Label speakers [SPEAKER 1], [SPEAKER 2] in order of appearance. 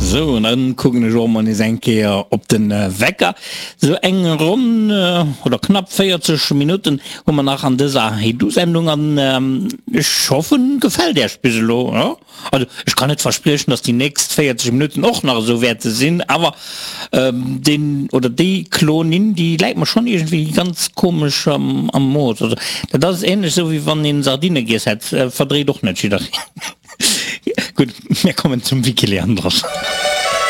[SPEAKER 1] Sou, an dann kucken ech och mol nees eng Kéier op den Wecker. Sou eng ronn oder knapp 40 Minutten hu mer nach an dëser Hey-Du-Sendung an ech hoffen gefält Äech bis elo. Jo, also ech kann net verspriechen, dass déi nächst 40 Minutten och nach esou wäerte sinn, awer deen oder déi Klonin, déi läit mer schonn iergendwéi ganz komesch am Mooss. Also dat ass ähnlech esou wéi wann een Sardine giess hätt, verdréit och net jiddereen. Gutt, mir kommen zum Wiki Leandros.